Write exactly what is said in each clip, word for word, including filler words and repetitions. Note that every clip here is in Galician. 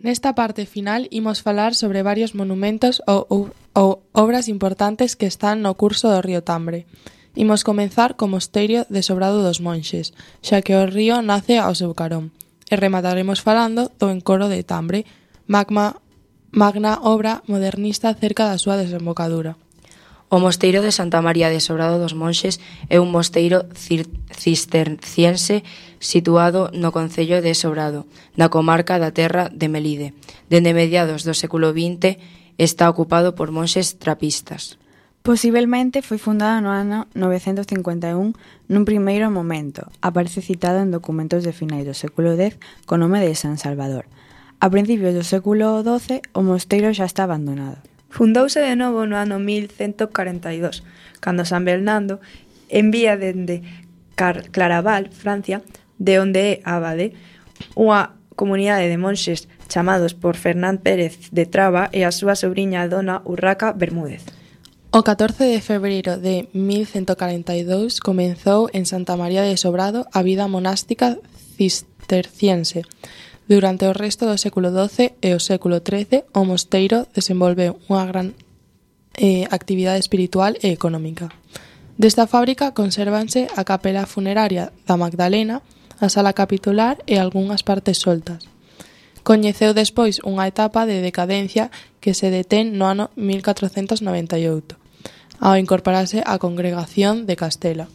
Nesta parte final imos falar sobre varios monumentos ou, ou, ou obras importantes que están no curso do río Tambre. Imos comenzar co mosteiro de Sobrado dos Monxes, xa que o río nace ao seu carón. E remataremos falando do encoro de Tambre, magma, magna obra modernista cerca da súa desembocadura. O mosteiro de Santa María de Sobrado dos Monxes é un mosteiro cisterciense situado no concello de Sobrado, na comarca da Terra de Melide. Dende mediados do século vinte está ocupado por monxes trapistas. Posiblemente foi fundada no ano novecentos cincuenta e un nun primeiro momento. Aparece citado en documentos de finais do século dez co nome de San Salvador. A principios do século doce o mosteiro xa está abandonado. Fundouse de novo no ano mil cento corenta e dous, cando San Bernardo envía dende Car- Claraval, Francia, de onde é abade, unha comunidade de monxes chamados por Fernán Pérez de Traba e a súa sobriña dona Urraca Bermúdez. O catorce de febreiro de mil cento corenta e dous comenzou en Santa María de Sobrado a vida monástica cisterciense. Durante o resto do século doce e o século trece, o mosteiro desenvolveu unha gran eh, actividade espiritual e económica. Desta fábrica consérvanse a capela funeraria da Magdalena, a sala capitular e algunhas partes soltas. Coñeceu despois unha etapa de decadencia que se detén no ano mil catrocentos noventa e oito, ao incorporarse á congregación de Castela.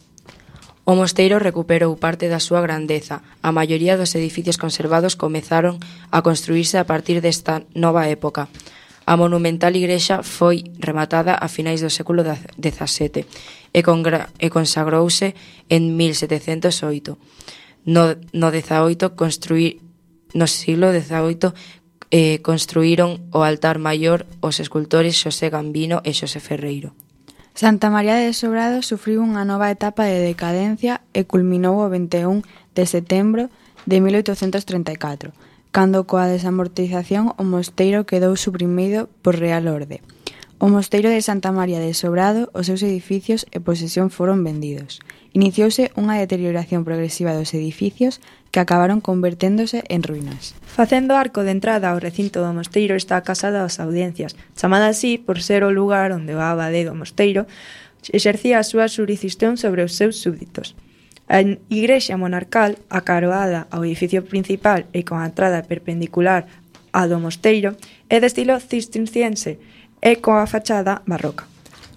O mosteiro recuperou parte da súa grandeza. A maioría dos edificios conservados comezaron a construírse a partir desta nova época. A monumental igrexa foi rematada a finais do século dezasete e, congra- e consagrouse en mil setecentos oito. No, no dezaoito construí, no siglo dezaoito eh, construíron o altar maior os escultores Xosé Gambino e Xosé Ferreiro. Santa María de Sobrado sufriu unha nova etapa de decadencia e culminou o vinte e un de setembro de mil oitocentos trinta e catro, cando coa desamortización o mosteiro quedou suprimido por Real Orde. O mosteiro de Santa María de Sobrado, os seus edificios e posesión foron vendidos. Iniciouse unha deterioración progresiva dos edificios que acabaron converténdose en ruínas. Facendo arco de entrada ao recinto do mosteiro está a Casa das Audiencias, chamada así por ser o lugar onde o abade do mosteiro exercía a súa xurisdición sobre os seus súbditos. A igrexa monarcal, acaroada ao edificio principal e con a entrada perpendicular á do mosteiro, é de estilo cisterciense e coa fachada barroca.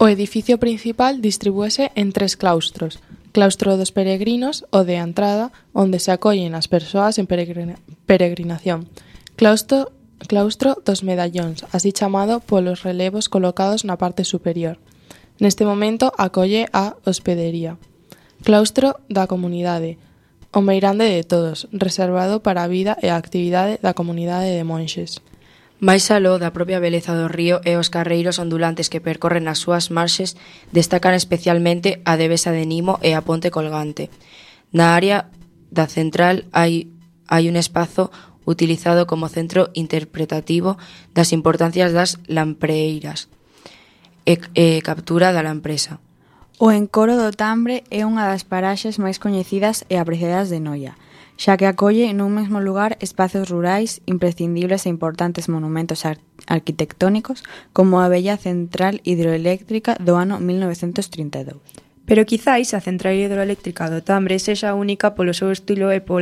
O edificio principal distribúese en tres claustros. Claustro dos peregrinos, o de entrada, onde se acollen as persoas en peregrina, peregrinación. Claustro, claustro dos medallóns, así chamado polos relevos colocados na parte superior. Neste momento acolle a hospedería. Claustro da comunidade, o meirande de todos, reservado para a vida e a actividade da comunidade de monxes. Mais aló da propia beleza do río e os carreiros ondulantes que percorren as súas marxes destacan especialmente a devesa de Nimo e a ponte colgante. Na área da central hai, hai un espazo utilizado como centro interpretativo das importancias das lampreiras e, e captura da lampresa. O encoro do Tambre é unha das paraxes máis coñecidas e apreciadas de Noia, xa que acolle nun mesmo lugar espazos rurais imprescindibles e importantes monumentos ar- arquitectónicos como a bella central hidroeléctrica do ano mil novecentos trinta e dous. Pero quizáis a central hidroeléctrica do Tambre sexa única polo seu estilo e pola